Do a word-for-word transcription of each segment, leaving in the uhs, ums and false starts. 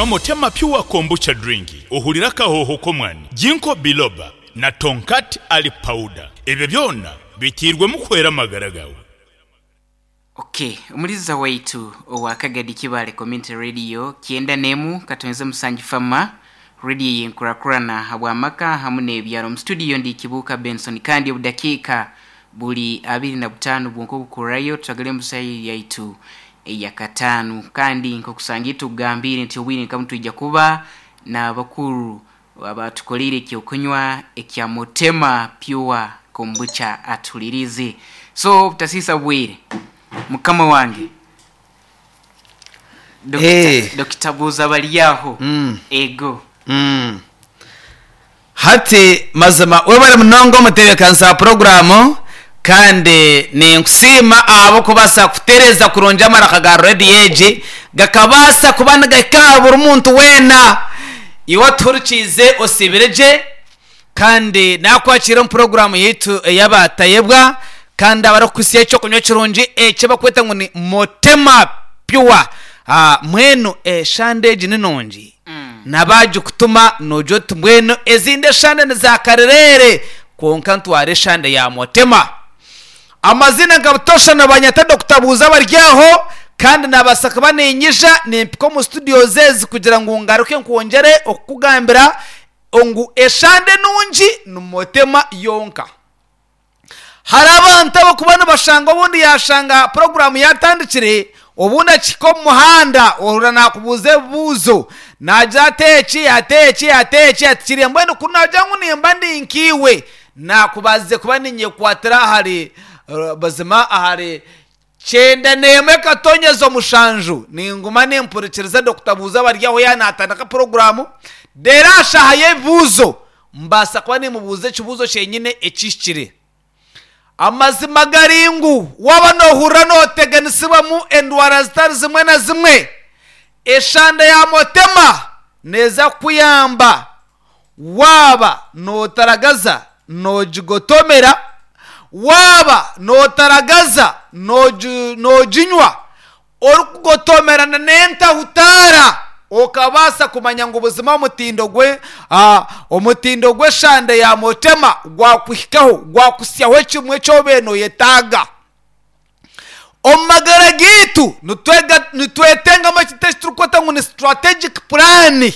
Nywa Motema Pure Kombucha Drink ohurire akahooho k'omwani, Ginkgo Biloba na Tongkat Ali Powder. Ebyo byona biteirwemu kuhwera amagara gaawe. Okay, omuliza waitu owa Kagadi Kibale Community Radio kyenda nemu katonze musanju fama radio yenkurakurana habwamaka hamu n'ebyaro. Mu studio ndi Kibuuka Benson, kandi obudakiika buli abiri na butaano bwonka obukurayo twagale musayi yaitu eyakataano. Kandi nkokusangira tugambire nti obwire nkamu twija kuba n'abakuru abatukolire ekyokunywa ekya Motema Pure Kombucha atulirize. So butasisa bwire, mukama wange Eh. Dokita Buuza Baryaho. Mm. Ego. Mm. Hati mazima webare munonga omutebeekanisa wa puroguramu, kandi ninkusiima abo kubaasa kutereeza kurungi amaraka ga rediyo egi gakabaasa kuba nigahika aha buri muntu weena. Iwe atuhurikiize osiibire gye, kandi nakwakira omu puroguramu yaitu ey'abatayebwa, kandi abarikukuhitsya ekyokunywa kirungi eki bakweta ngu ni Motema Pure. Ah, mbwenu eshande egi ni nungi, nabagikutuma nogira oti mbwenu ezindi eshande ni za karerere, kwonka ntwara eshande ya Motema. Amazina nka butosha nabanyata Dokita Buuza Baryaho, kandi nabaasa kuba ninyija nimpika omu studio zezi kugira ngu ngaruke nkwongyere okukugambira ngu eshande nungi ni Motema yonka. Hari abantu abakuba nibashanga obundi yashanga puroguramu yatandikire, obundi akihika omu muhanda ohurira nakubuuza ebibuuzo, nagira ati eki ati eki ati eki ati kiriya, mbwenu ku nagira ngu nimba ndi nkiiwe nakubazize kuba ninyekwatira ahari eh, bazima ahari kyenda n'emwe katonyeza omushanju, ninguma nimpurikiriza Dokita Buuza Baryaho yanatandika puroguramu, reero ashaaha y'ebibuuzo mbaasa kuba nimubuuza ekibuuzo kyenyine ekihikire. Amazima gari ngu waaba noohurira nooteganisibwamu endwara zitari zimwe na zimwe, eshande ya Motema neeza kukuyamba. Waaba nootaragaza noogigotomera, waaba nootaragaza noogi- nooginywa orikugotomerana n'entahutaara, okabaasa kumanya ngu buzima omutindo gwe ah, omutindo gw'eshande ya Motema gwakuhikaho, gwakusyaho ekimwe ekyobaire nooyetaaga. Omu magara gaitu nitwega- nitwetengamu ekintu eki turikweta ngu ni strategic plan.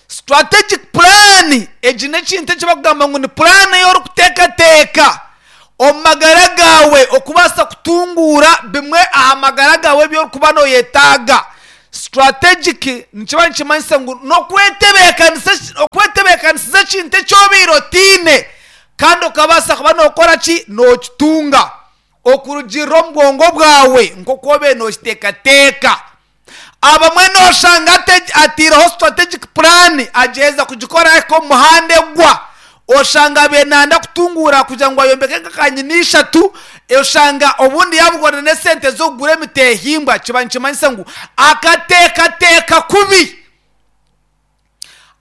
Strategic plan egi n'ekintu eki bakugamba ngu ni plan ei orikuteekateeka omu magara gaawe okubaasa kutunguura bimwe aha magara gaawe ebi orikuba nooyetaaga. Strategic nikiba nikimanyisa ngu n'okwetebeekanisa okwetebeekanisiza ekintu eki obaire otiine, kandi okabaasa kuba nookora ki, nookitunga okurugiirira omu bwongo bwawe nk'oku obaire nookiteekateeka. Abamwe nooshanga ate- ataireho strategic plan, agyeza kugikora ahika omu muhanda egwa. Oshanga abaire nayenda kutunguura kugira ngu ayombeke nka kanyina ishatu, oshanga obundi yabugwana n'esente z'okugura emitehimbwa, kiba nikimanyisa ngu akateekateeka kubi.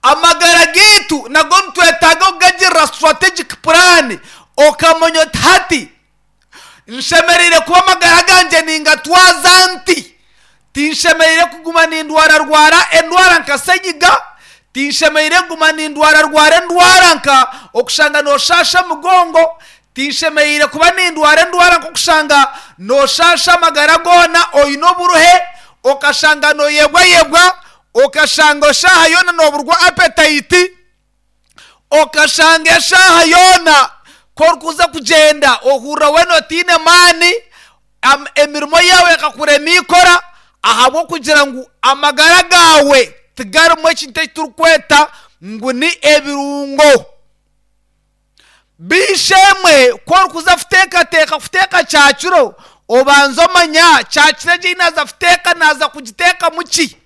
Amagara gaitu nago nitwetaaga okugagirira strategic plan, okamanya oti hati nshemereire kuba amagara gangye ningatwaza nti, tinshemereire kuguma nindwararwara endwara nka senyiga, tinshemereire kuguma nindwararwara endwara nka okushanga nooshasha omugongo, tinshemereire kuba nindwara endwara nk'okushanga nooshasha amagara goona oine oburuhe, okashanga nooyebwayebwa, okashanga eshaaha yoona nooburwa appetite, okashanga eshaaha yoona ku orikuza kugyenda ohurira weena otiine maani, am- emirimo yaawe ekakurema ikora ahabw'okugira ngu amagara gaawe tigarimu ekintu eki turikweta ngu ni ebirungo. Biishemwe, ku orikuza kuteekateeka kuteeka kyakiro, obanza omanya kyakiro egi ei naaza kuteeka naaza kugiteekamu ki.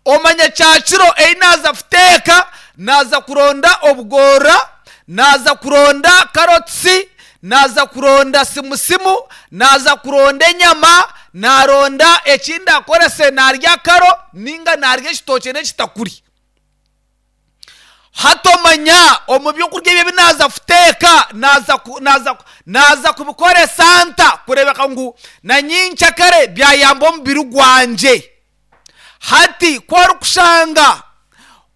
Omanya kyakiro ei naaza kuteeka naaza kuronda obugorora, naaza kuronda karotisi, naaza kuronda simusimu, naaza kuronda enyama, naaronda eki ndakorese naarya karo ninga naarya ekitookye n'ekitakuri. Hati omanya omu byokurya ebi ebi naaza kuteeka naaza ku- naaza ku- naaza kubikoresa nta kureebeka ngu na nyincakare byayamba omubiri gwangye. Hati ku orikushanga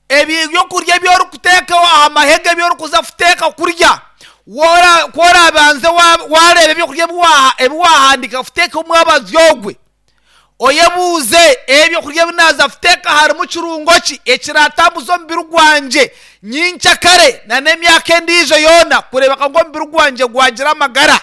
ebyokurya ebi orikuteekaho aha mahega, ebi orikuza kuteeka kurya, ku orabanze wareeba ebyokurya ebi wahandiika kuteeka omwabazyo ogwe, oyebuuze ebyokurya ebi naaza kuteeka harimu kirungo ki ekiratambuza omubiri gwangye nyenkyakare n'emyaka endiijo yoona kureebeka ngu omubiri gwangye gwagira amagara.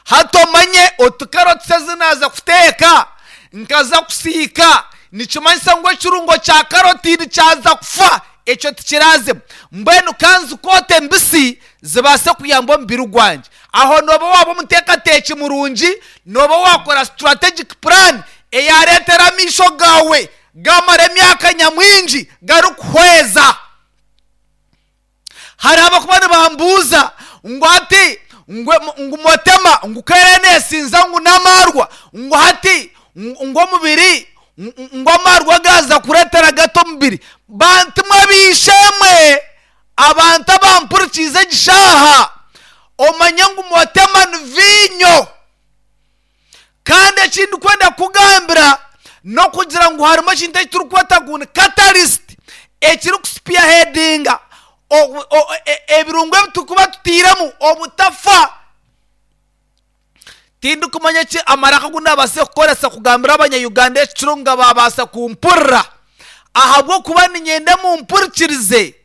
Hati omanye oti karoti ezi naaza kuteeka nkaza kusiika, nikimanyisa ngu ekirungo kya karoti kyaza kufa, ekyo tikirazemu. Mbwenu kanzikoote mbisi zibaase kuyamba omubiri gwangye. Aho nooba waaba omuteekateeki murungi, nooba waakora strategic plan eyareetera amaisho gaawe gamara emyaka nyamwingi garikuhweza. Hariho abakuba nibambuuza ngu hati ngu motema ngu kere neesinza ngu n'amaarwa, ngu hati ngu omubiri ngu amaarwa gaaza kureetera gato omubiri. Bantu mwe biishemwe, abantu abampurikiize egi shaaha, omanye ngu motema ni viinyo. Kandi ekindi kwenda kugambira n'okugira ngu harimu ekintu eki turikweta ngu ni catalyst ekirikuspearheadinga ebirungo ebi turikuba tutairemu obutafa. Tindikumanya eki amaraka agu naabaasa kukoresa kugambira abanya-Uganda ekiro nga babaasa kumpurira, ahabw'okuba niinyenda mumpurikirize.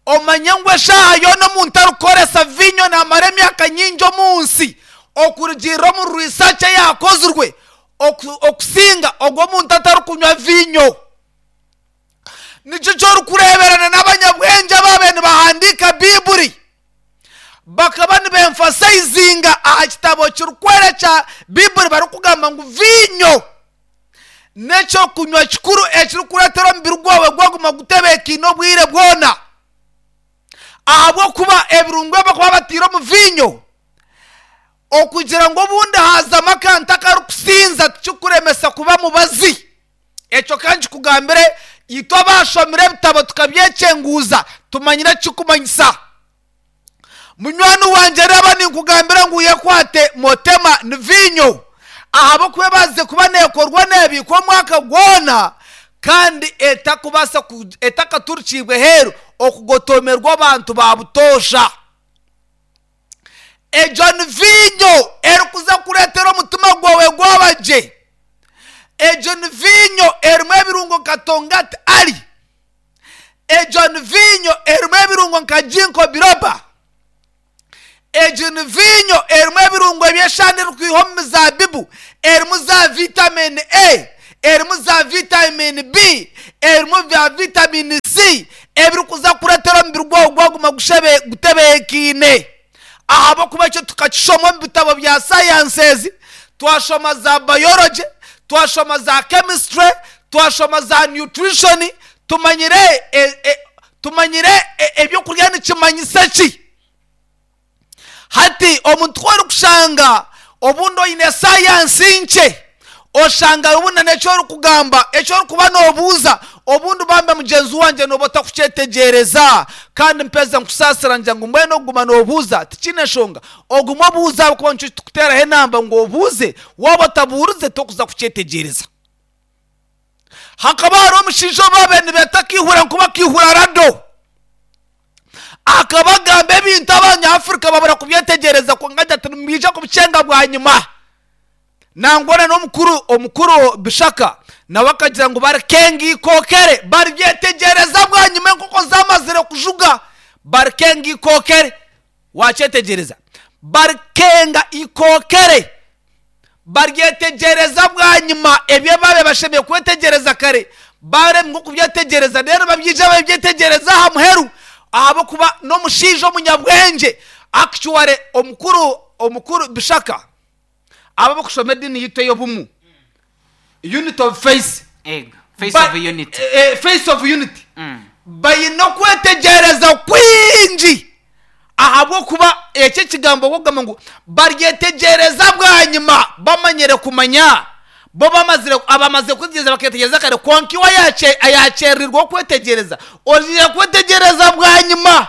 Omanye ngu eshaaha yoona omuntu arikukoresa viinyo naamara emyaka nyingi omu nsi, okurugiirira omu research eyakozirwe, okusinga ogwo omuntu atarikunywa viinyo. Nikyo ky'orikureeberana n'abanyabwengye ababaire nibahandiika Biiburi, bakaba nibaemphasizinga aha kitabo kirikwera kya Biiburi barikugamba ngu viinyo n'ekyokunywa kikuru ekirikureetera omubiri gwawe gwaguma gutebeekaine obwire bwona. Ahabw'okuba ebirungo ebi barikuba bataire omu viinyo, okugira ngu obundi haazamu akantu akarikusinza tikikuremesa kuba mubazi. Ekyo ka nkikugambire, itwe abashomire ebitabo tukabyekyenguuza tumanyire ekikumanyisa. Munywani wangye reeba ninkugambira ngu yekwate motema ni viinyo, ahabw'okuba ebaasize kuba neekorwa neebiikwa omwaka gwona kandi etakubaasa etakaturikiibwe heeru okugotomerwa abantu ba butoosha. Egyo ni viinyo erikuza kureetera omutima gwawe gwaba gye. Egyo ni viinyo erimu ebirungo nka tongati ali. Egyo ni viinyo erimu ebirungo nka ginkgo biloba. Egyo ni viinyo erimu ebirungo eby'eshana erikwiha omu mizaabibu, erimu za vitamin A, erimu za vitamin B, erimu za vitamin C, ebirikuza kureetera omubiri gwawe gwaguma gutebeekaine. Ahabw'okuba ekyo tukakishoma omu bitabo bya sciences, twashoma za biology, twashoma za chemistry, twashoma za nutrition, tumanyire tumanyire ebyokurya nikimanyisa ki. Hati omuntu ku orikushanga obundi oine sayansi nkye, oshanga obundi n'eki orikugamba, eki orikuba noobuuza, obundi bambe mugyenzi wangye nooba otakukyetegyereza. Kandi mpeza nkusaasira ngira ngu mbwenu okuguma noobuuza tikiine nshonga. Ogume obuuze ahabw'okuba nikyo tukuteeraho enamba ngu obuuze, waaba otabuurize tokuza kukyetegyereza. Hakaba hariho omushaija ou baabaire nibeeta Kaihura nkuba Kaihura Rado. Akaba agamba ebintu abanyafurika babura kubyetegyereza kwonka agira ati nimwija kubikyenga bwanyima. Nangwa n'omukuru omukuru Bishaka nawe akagira ngu barikenga ikookere, baribyetegyereza bwanyima enkoko zamazire kujuga, barikenga ikookere. Wakyetegyereza? Barikenga ikookere, baryetegyereza bwanyima ebyo baabaire bashemereire kwetegyereza kare, baremwa okubyetegyereza reero babyija babyetegyereza aha muheru, ahabw'okuba n'omushaija omunyabwengye. Actually omukuru omukuru Bishaka aba abarikushoma ediini yaitu ey'obumu, unity of faith, Ego, face of unity. face of unity, baine okwetegyereza kwingi ahabw'okuba eki ekigambo okugamba ngu baryetegyereza bwanyima bamanyire kumanya bo bamazire abamaze kwetegyereza bakeetegyereza kare, kwonka iwe ayakyerererwa okwetegyereza ogiire kwetegyereza bwanyima.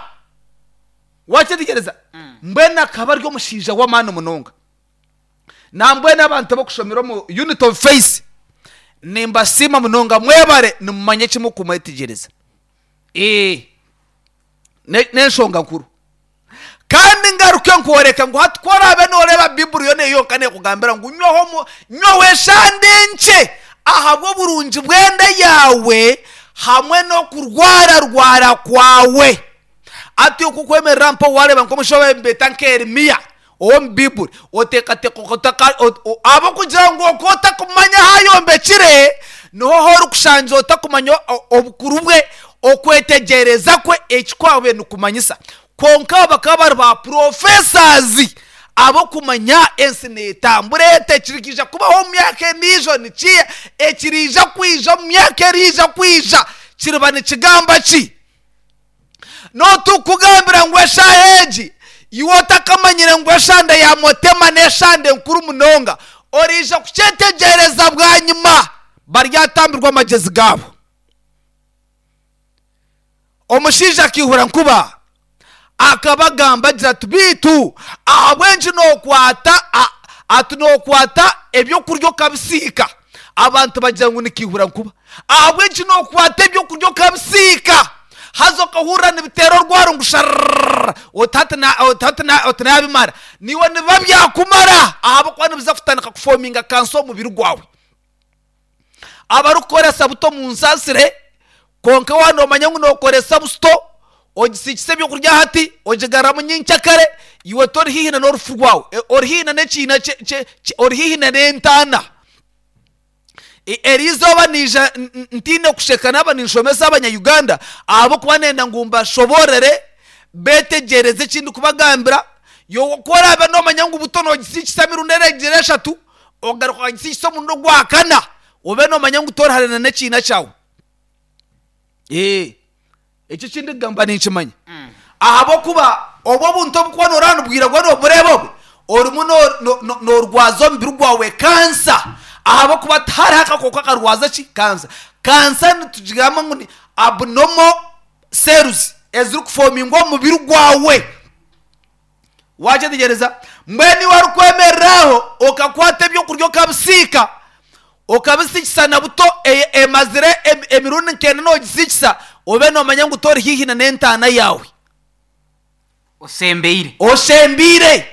Wakyetegyereza? Mbwenu akaba ari omushaija w'amaani munonga. Nambwenu abantu abarikushomera omu unity of faith, Nimbasiima munonga, mwebare nimumanya kimwe kumwetegyereza. Ee, ne- n'enshonga nkuru. Kandi ngaruke nkworeka ngu hati ku oraabe nooreeba Bibuli yoona yonka neekugambira ngu nywaho omu- nywaho eshande nkye ahabw'oburungi bw'enda yaawe hamwe n'okurwararwara kwawe. Ati okukwemerera mpa wareeba nk'omushaija nibeeta nka Yeremiya ow'omu Bibuli, oteekateeka otaka- ot- o- ahabw'okugira ngu okwo otakumanya ahu ayombekire, niho horikushangira otakumanya o- obukuru bwe, okwetegyereza kwe, eki kwabaire nikumanyisa. Kwonka abo bakaba bari ba professors ab'okumanya ensi neetambura eta, ekirikwija kubaho omu myaka endiijo nikiiha, ekiriija kwija omu myaka eriija kwija kiriba nikigamba ki? N'otukugambira ngu eshaaha egi iwe otakamanyire ngu eshande ya Motema n'eshande nkuru munonga, oriija kukyetegyereza bwanyima, baryatambirwa amagyezi gaabo. Omushaija akaihura nkuba akabagamba agira ati, biitu ahabw'enki nookwata a- ati nookwata ebyokurya okabisiika? Abantu bagira ngu nikiihura nkuba. Ahabw'enki nookwata ebyokurya okabisiika, haza okahurira nibiteera orwaro ngu sharrrr, oti hati na- oti hati na- oti naabimara? Niiwe nibiba byakumara, ahabw'okuba nibiza kutandika kufominga kansa omu mubiri gwawe. Abarikukoresa buto munsaasire, kwonka waaba noomanya ngu nookoresa busito, ogisiikisa ebyokurya hati, ogigaruramu nyenkyakare, iwe tori haihi na n'orufu rwawe, E- ori haihi na n'ekiina kye- kye- kye- ori haihi na n'entaana. E- Eri izooba niija n- n- ntiine kusheka naaba ninshomesa Abanya-Uganda, ahabw'okuba nenda ngu mbashoboorore beetegyereze eki ndikubagambira. Iwe ku oraabe noomanya ngu buto noogisiikisa emirundi ereegyera eshatu, ogaruka okagisiikisa omurundi ogwa kana, obe noomanya ngu tori hare na n'ekiina kyawe. Ee, ekyo eki ndikugamba ninkimanya. Ahabw'okuba obwo obuntu obukuba nooreeba nibwiragura noobureeba obwe, orimu no- no- no- noorwaza omubiri gwawe kansa, ahabw'okuba tihariho akakooko akarwaza ki? Kansa. Kansa nitugigamba ngu ni abnormal cells ezirikufomingwa omu mubiri gwawe. Wakyetegyereza? Mbwenu iwe orikwemerera aho okakwata ebyokurya okabisiika, okabisiikisa na buto e- emazire em- emirundi nk'ena noogisiikisa, obe noomanya ngu tori haihi na n'entaana yaawe. Osembeire. Osembeire,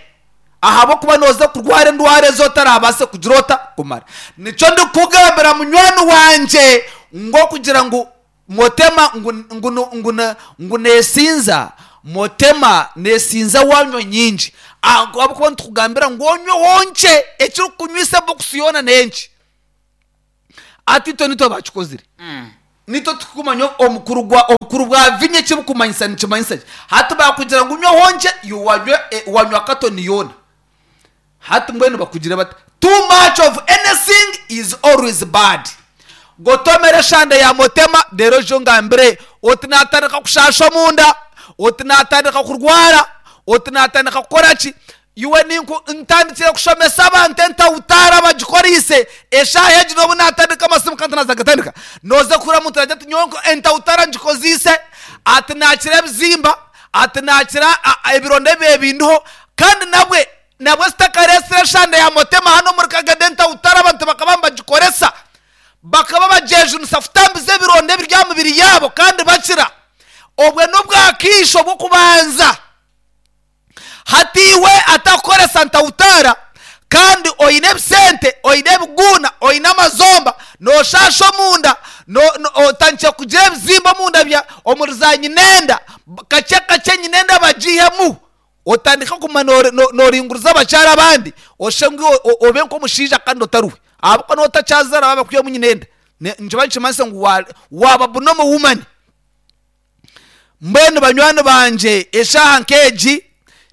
ahabw'okuba nooza kurwara endwara ezi otarabaase kugira ota kumara. Nikyo ndikukugambira munywani wangye ngu okugira ngu Motema ngu, ngu, ngu, ngu, ngu neesinza, Motema neesinza waanywa nyingi. Ahabw'okuba nitukugambira ngu onyweho nkye, ekirikukunywisa ebokisi yoona n'enki. Ati itwe nitwe baakikozire. Nitwe turikumanya omukuru gwa obukuru bwa vinyo eki bukumanyisa nikimanyisa ki. Hati baakugira ngu nywaho nkye, iwe wanywa e- wanywa katoni yoona. Hati mbwenu bakugire bata? Too much of anything is always bad. Gotomera eshande ya Motema reero oije ongambire oti naatandika kushaasha omunda, oti naatandika kurwara, oti naatandika kukora ki. Iwe ninku ntandikire kushomesa abantu entawutaara bagikoreise eshaaha egi n'obu naatandika amasimu kandi naaza gatandika. Nooza kuhurira omuntu naagira ati nyowe entawutaara ngikozeise, ati naakira ebizimba, ati naakira a- a- ebironda ebibaire bindiho, kandi nabwe nabwe zitakareetsire eshande ya Motema hanu omuri Kagadi entawutaara abantu bakaba nibagikoresa. Bakaba bagyejunisa kutambiza ebironda ebiri aha mibiri yaabo kandi bakira. Obwe n'obwakaisho bw'okubanza. Hati iwe atakukoresa ntawutaara kandi oine ebisente, oine ebiguuna, oine amazomba, nooshaasha omunda, no- no- otandikire kugira ebizimba omunda bya omuri za nyinenda, kakye kakye nyinenda bagiihemu, otandike kuguma noori- no- nooringuriza abakyara abandi, oshushe ngu iwe o- obe nk'omushaija kandi otari we. Ahabw'okuba nooba otakyazaara baaba bakwihamu nyinenda. Ne- nikiba nikimanyisa ngu wa- waaba abnormal woman. Mbwenu banywani bangye, eshaaha nk'egi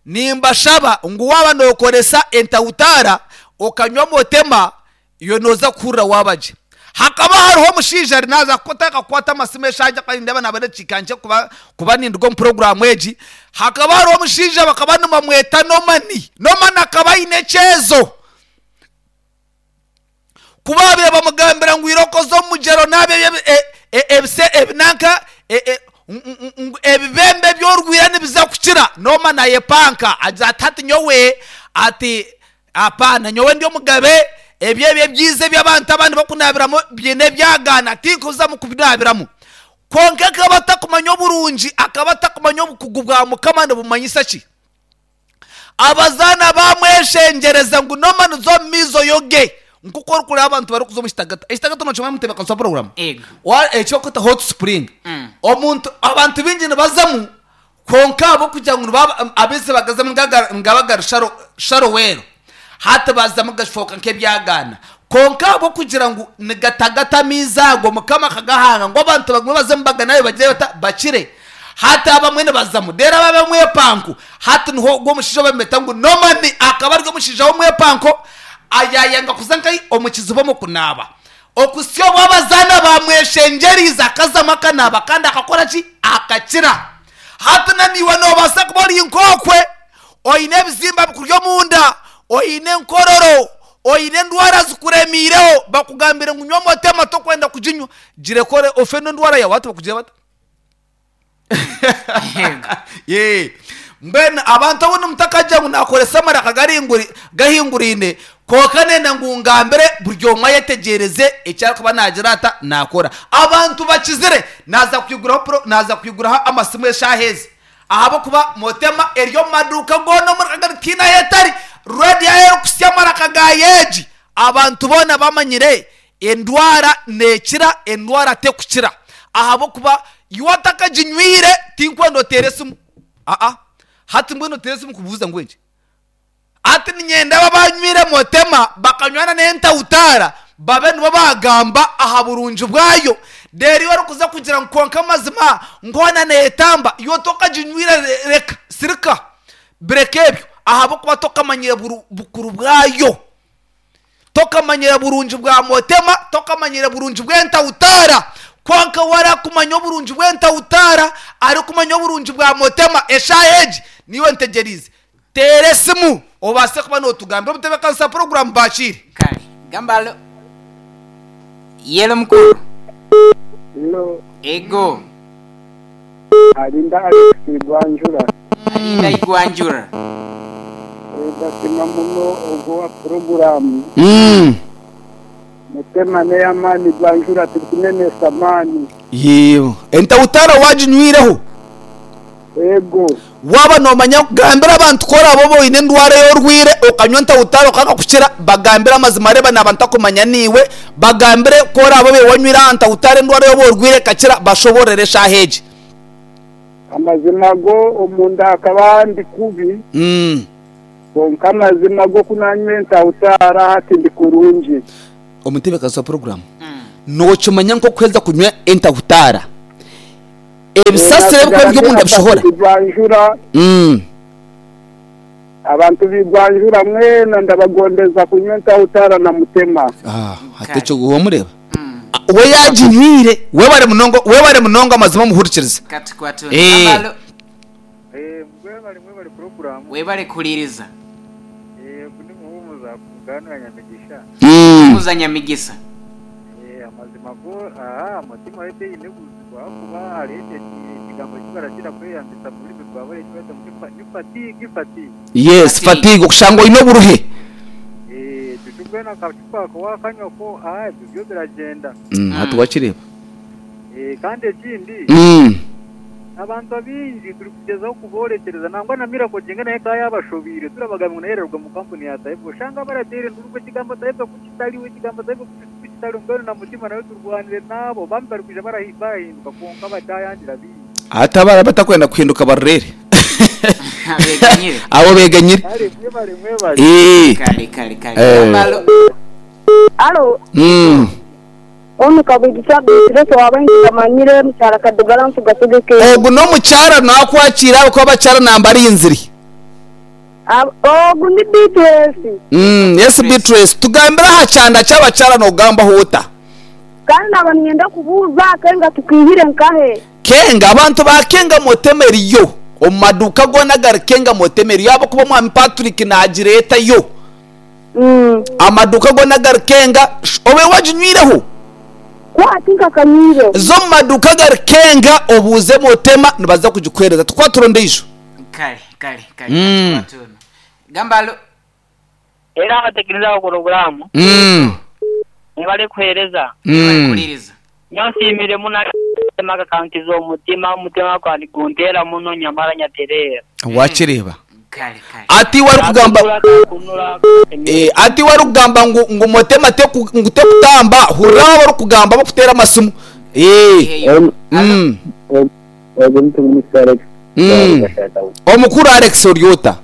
nimbashaba ngu waaba nookoresa entawutaara okanywa Motema, iwe nooza kuhurira waaba gye. Hakaba hariho omushaija ari naaza kutandika kukwata amasimu eshaaha egi ahakuba nindeeba naaba n'edakiika nkye kuba, kuba ninduga omu puroguraamu egi. Hakaba hariho omushaija bakaba nibamweta Nomani. Nomani akaba aine ekyezo. Ku baabaire bamugambira ngu irooko oze omu mugyera onaabe ebi- e- e- ebise ebinanka e- e- ngu- ngu ebibembe ebi orwire nibiza kukira, Nooma naayepanka agira ati, hati nyowe ati apaana, nyowe ndi omugabe, Ebyo ebyo ebyiza eby'abantu abandi bakunabiramu byine ebyagaana tinkuzamu kubinabiramu. Kwonka akaba atakumanya oburungi, akaba atakumanya obukugu bwa Mukama nibumanyisa ki. Abazaana bamweshengyereza ngu nomaniza omu maizi oyoge, nkuko orikureba abantu barikuza omu kitagata. Ekitagata nokimanya mutebeekanisa wa puroguramu? Ego. Wa- ekyokweta hot spring. Mm. Omuntu abantu baingi nibazamu, kwonka ahabw'okugira ngu nibaba amaizi bagazamu nigaga- nigaba gari sharo sharowero, hati bazamu gashooka nk'ebyagaana. Kwonka ahabw'okugira ngu nigatagata amaizi ago, Mukama akagahanga ngu abantu bagume bazemu baganabe bagire bata bakire. Hati abamwe nibazamu, reero ababa omwepanko, hati niho ogwo omushaija ou bamweta ngu Nomani akaba ari omushaija w'omwepanko, ayayanga kuza nkahi omu kiziba omu kunaaba. Okuhitsya obu abazaana baamweshengyeriize akazamu akanaaba kandi akakora ki? Akakira. Hati na naiwe noobaasa kuba ori nk'okwe, oine ebizimba bikuri omunda, oine enkororo, oine endwara zikuremiireho, bakugambire ngu nywa amata tokwenda kuginywa, girekore ofe n'endwara yaawe hati bakugire bata? Yego. Yee. Mbwenu abantu obundi mutakagira ngu nakoresa amaraka garinguri gahinguraine, kwonka nenda ngu ngambire buri omwe ayetegyereze eki arikuba naagira ata naakora. Abantu bakizire naaza kwiguraho pro naaza kwiguraho amasimu eshaaha ezi ahabw'okuba Motema eri omu maduuka goona omuri Kagari tihaine ahu etari. Rediyo ahu erikuhitsya amaraka gaayo egi, abantu boona bamanyire endwara neekira, endwara tekukira ahabw'okuba iwe otakaginywire tinkwenda oteere esimu. Aa hati mbwenu oteere esimu kubuuza ngu enki? Hati niinyenda abo abanywire Motema bakanywa n'entawutaara babe nibo baagamba aha burungi bwayo. Reero iwe orikuza kugira ngu kwonka amazima nkoona neetamba, iwe tokaginywire reka, sirika, bireka ebyo ahabw'okuba tokamanyire buru bukuru bwayo. Tokamanyire burungi bwa Motema, tokamanyire burungi bw'entawutaara. Kwonka we arakumanya oburungi bw'entawutaara, arikumanya oburungi bwa Motema, eshaaha egi niiwe ntegyereize. Teera esimu obaase kuba nootugambira. Omutebeekanisa puroguraamu baakiire. Kale gamba alo. Yelo mukuru. Hello, Ego. Alinda Alex Igwanjura. Alinda Igwanjura. Ndasima muno ogwo wa puroguramu. Mutema n'ey'amaani Igwanjura turikunenesa amaani. Yee, entawutaara waaginywireho? Ego. Waaba noomanya gambira abantu ku oraabe oba oine endwara ei orwaire okanywa entawutaara okanga kukira, bagambire amazima reeba naaba ntakumanya niiwe, bagambire ku oraabe obaire wanywire aha ntawutaara endwara ei oba orwaire ekakira, bashoboorore eshaaha egi. Amazima go omunda hakaba ndi kubi. Mm. Kwonka amazima go ku naanywa entawutaara hati ndi kurungi. Omutebeekanisa wa puroguraamu, Mm. nookimanya nk'okuheza kunywa entawutaara, ebisasiro ebirikuba biri omunda bishohora? Igwanjura. Mm. Abantu b'Igwanjura mwena ndabagondeza kunywa entawutaara na Mutema. Ah, hati ekyo wamureeba? Mm. We yaaginywire, webare munonga, webare munonga amazima omuhurikiriza. Katukwatuni. Eh. Gamba alo. Eh, mwebale mwebale puroguramu. Webale kuhuliriza. Eh, ndi muhumuza kuganira Nyamigisha. Mm. Kuza Nyamigisa. Eh, amazima go aha mutima wete ine buzibu ahakuba hariho ekigambo eki barakira kweyambisa mu rurimi rwa buri ekibata ngu ni fatigue fatigue. Yes, Fatigue. fatigue okushanga oine oburuhe. Eh, ekyo mbwenu akacupa ako wakanywa ko aha ebyo byo biragyenda. Mm, hati wakireeba. Eh, kandi ekindi Mm. abantu abaingi turikugyezaho kuborekyereza nangwa na Miracle Jenga naye ka yabashobiire turabagamba ngu naye erarugwa mu kampuni ya Taifa oshanga barateire enduru ngu ekigambo Taifa ku kitariho ekigambo Taifa ku kitariho mbwenu na Mutima nawe turwanire naabo bamwe barikwija barahi- barahinduka kwonka bataayangira bingi. Hati abaraba batakwenda kuhinduka barurere. Beganyire. Abo beganyire. Kare mwebale mwebale. Eh. Kale kale kale. Eh. Gamba alo. Alo, Mm. onu kabwigisa bitirese waba nkikamanyire mukyala Kadugala nsugasugeke. Ogu n'omukyara nakwakira ahabw'okuba abakyara namba arinzire. Ogu ni B T S. Mm, yes Beatrice, tugambire aha kyanda ky'abakyara noogambaho ota? Kandi naba ninyenda kubuuza kenga tukihire nkahe. Kenga abantu ba Kenga Motema eriyo omu maduuka goona agari Kenga Motema eriyo ahabw'okuba omwami Patrick naagireetayo. Mm. Amaduuka goona agari Kenga sh- obe waginywireho? Kwati nkakanyire. Zo omu maduuka agari Kenga obuuze Motema nibaza kugikuheereza. Tukwatire ondiijo. Kale kale kale. Mm. Katukwatuni. Gamba alo. Era abatekereza programu Mm. nibali kuhereza. Mm. Kuliriza. Nyansimire muno maka kankiza omutima omutima kwandi guntera muno nyamara nyaterera. Wakireba. Kale kale. Ati wari kugamba Kunura Eh, ati wari kugamba ngu ngu motema te ngu tekutamba hurra wari kugamba bakutera amasimu. Eh. Eyo. Mm. Ogu ntumwisa Alex. Mm. Omukuru Alex Oryota.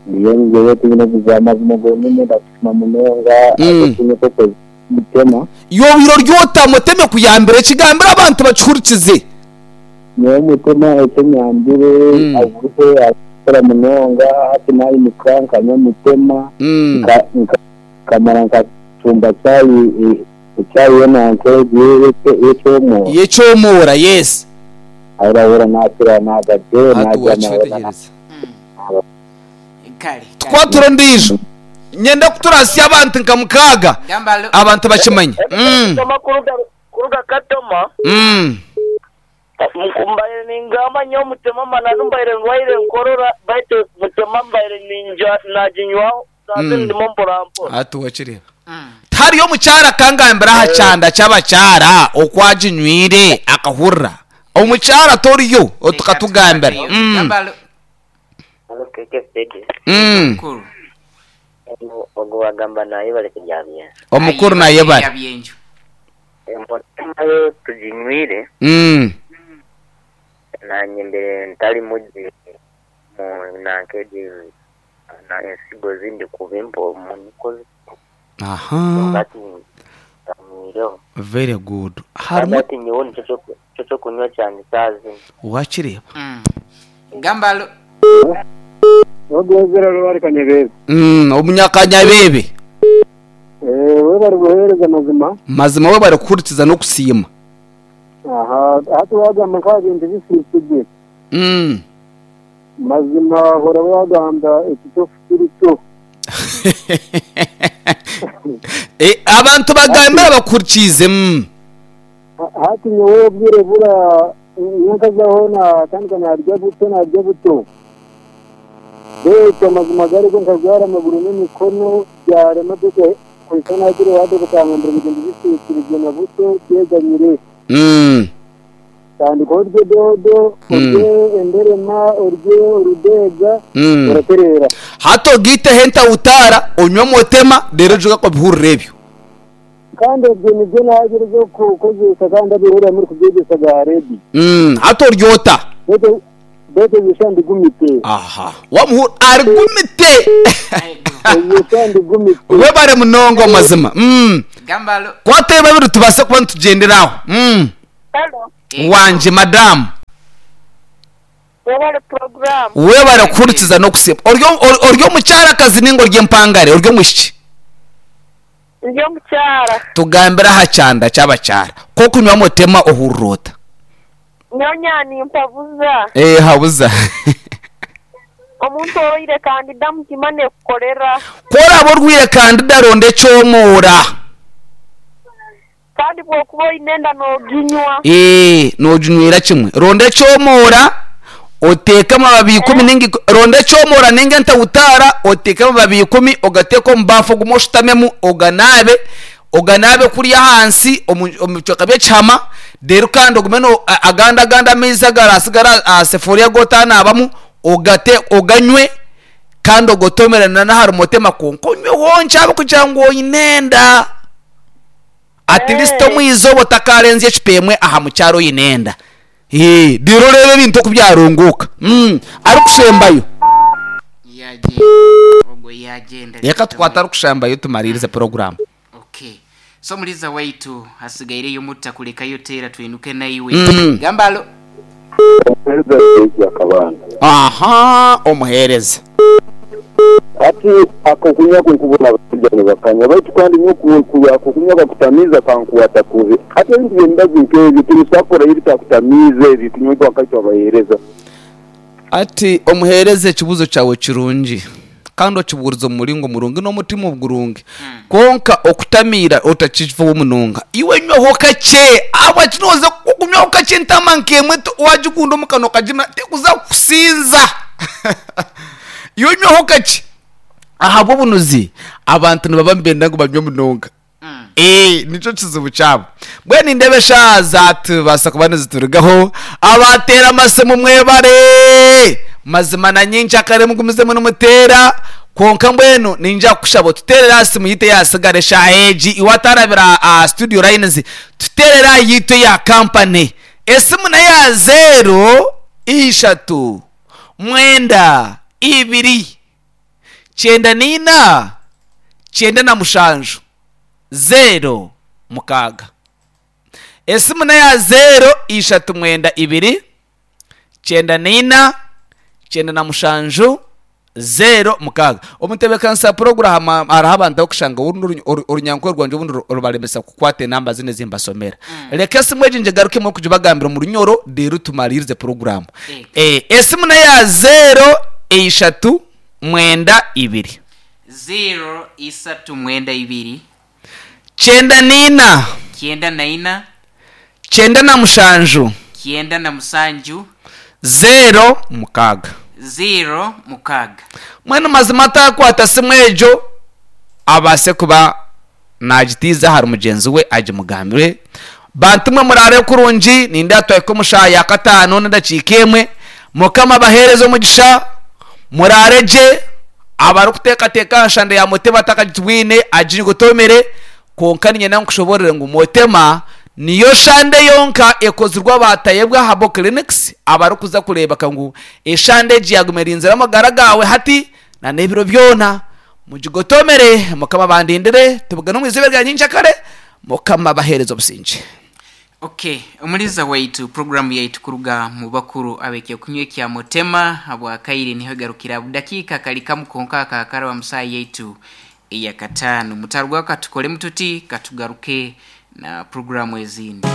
Ndiyo ngewe tulina kuza amazima gonyine ndakusima munonga Mm. agokunywa koko mutema. Yo biro ryota muteme kuyambira ekigambira abantu bakihurikize. Nyowe mutema ekyenyambire Mm. aguruhe akora munonga hati nayimuka nkanywa mutema Mm. nka- nka- nkamara nkacumba cyayi icyayi yonanke yekyomwo Yekyomora yes. arahura nakira nagade Ati wakitegereza. Kale. Kale. Twatura ndijo. Nyenda kuturasya abantu nka mukaga. Gamba alo. Abantu bakimanye. Mm. kuruga kuruga katoma Mm. mbaire ningamba nyo mutema mananu mbaire ndwaire nkorora baitu mutema mbaire ninja naginywaho naze Mm. ndimo mporampora. Ati wakireba. Mm. Tariyo mukyara kangambira aha kyanda ky'abakyara okwaginywire akahurra. Omukyara toriyo otukatugambira. Mm. Gamba alo. Mm. Mukuru. Ogo wagamba naye bali kuryamya. Omukuru naye bari. Byenju. Emotema yo tuginywire Mm. nanye mbere ntali mugi mu nankeji na ensigo zindi kubimpo munikozi Aha. kati nyireho Very good. Harimu kati nyowe nicyo cyo kunywa cyane sazi wakireba. Mm. Gamba alo. Ogwezera rwari kanyebebe. Mm, omunyakanyabebe. Eh we bari guhereza amazima. Mazima we bari kuhurikiza no kusiima. Aha hati wagamba nka bintu bisisibye. Mm. Mazima hora wagamba ekitofu kiri cyo. Eh, abantu bagambira bakurikize. Mm. Hati nyowe obwire bura nyankazaho na kandi narya buto narya buto. Beitu amazima gariko nkagwara amaguru n'emikono byarema duke kuhika nagire wade kutangambira ebintu bisisibye na buto byeganyire. Mm. Tandika orye dodo, orye enderema, orye orudega, Mm. oraterera. Hato gite henta utara onywa motema rero juga ko bihurira ebyo. Kandi ebyo nibyo nagereza kukozesa kandi abihurira muri kubyegesa ga redi. Mm. Hato ryota. Bete bete bishandi gumite. Aha. Wamuhur argumite. Bishandi gumite. We bare munongo mazima. Mm. Gamba alo. Kwate babiri tubase kuba nitugenderaho. Mm. Halo. Wanje madam. Webale program. We bare kuhurikiza no kusiima. Oryo oryo mukyara kazi ningo ry'empangare oryo mushiki. Ndi omukyara. Tugambira aha kyanda ky'abakyara. Ko kunywa motema ohurrota. Nyonya nimpabuza. Eh habuza. Omuntu oroire kandida mutima nekukorera. Kora borwire kandida ronde kyomora. Kandi bwokuba oinenda noginywa. Eh nojunywera kimwe. Ronde kyomora oteka amababi ikumi ningi ronde kyomora ninge ntawutara oteka amababi ikumi ogateka omu bafu ogume oshutamemu oganabe oganabe kurya ahansi omu bicweka by'ekihama rero kandi ogume no aganda aganda amaizi agarasigara aha sefuriya gotanabamu ogate oganywe kandi ogotomerana n'ahari motema konka onywe wonki abe kugira ngu oinenda at least omwizoba otakarenze ekipemwe aha mukyaro oinenda. Eh, rero rero ebintu okubyarunguka. Mm, arikushembayo. Yaje. Ogwo yagenda. Reka tukwata arikushembayo tumaririze program. Okay. So muliza waitu hasigaireyo mutta kulekayo tera twinuke naiwe. Mm. Gamba alo. Aha, omuhereza. Ati akokunywa kunkubona abasajja bakanywa baitu kandi nyo kunywa bakutamiza kankuwata kubi ate ebintu byembazi nk'ebyo tubisakora ebitakutamiza ebi tunywe wakati wabahereza. Ati omuhereza ekibuzo kyawe kirungi kandi okiburiza omuringo murungi n'omutima ogurungi konka okutamira otakivaho munonga iwe nywaho kakye abwa kinoza okunywaho kakye ntama nkemwe wagikunda omukano kagima tekuza kusinza iwe nywaho kakye Ahabw'obunuzi abantu nibaba nibenda ngu banywe munonga. Eh, nicyo kizibu kyabo. Mbwenu indebe eshaaha zatubaasa kuba niziturugaho. Abateera amasimu mwebare, mazima na nyingi akare mugumizemu nimuteera. Kwonka mbwenu ninja kukushaba otuteerere aha simu yitu eyasigara eshaaha egi. Iwe atarabira aha studio lines, tuteerere aha yitu eya kampani. Esimu neya zeero ishatu mwenda ibiri kyenda niina kyenda na mushanju zeero mukaaga. Esimu neya zeero ishatu mwenda ibiri kyenda niina kyenda na mushanju zeero mukaaga. Omutebeekanisa puroguramu hariho abantu abakushanga orundi orunyankore rwangye obundi rubaremesa kukwata enamba zinu ezimbasomera. Reka esimu egi ngigarukemu kugibagambira omu runyoro, reero tumaririze puroguramu. Eh, esimu neya zeero ishatu mwenda ibiri Zero isatu mwenda ibiri kyenda niina kyenda na ina kyenda na mushanju kyenda na musanju zeero mukaaga. Zero mukaaga. Mwenu mazima atakwata simu egyo abaase kuba nagitiiza ahari mugyenzi we agimugambire. Bantu mwe muraare kurungi, nindeeba twahika omu shaaha ya kataano n'edakiika emwe. Mukama abaheereze omugisha, muraare gye. Abarikuteekateeka aha nshanda ya Mutema atakagitwine agigotomere. Kwonka niinyenda nkushoboorore ngu Mutema niyo shande yonka ekozirwe abatayebwa Herbal Clinics abarikuza kureebeka ngu eshande egi yaguma erinzire amagara gaawe hati na n'ebiro byona. Mugigotomere, Mukama abandindire, tubugane omu izooba rya nyenkyakare. Mukama abaheereze obusingye. Okay, omuliza waitu programu yaitu kuruga mu bakuru abeke kunywa kya Mutema habwakaire niho garukira budakiika kali kamu konka kakara wa musaa yaitu eya kataano. Mutarugwa katukole mututi katugaruke na programu ezindi.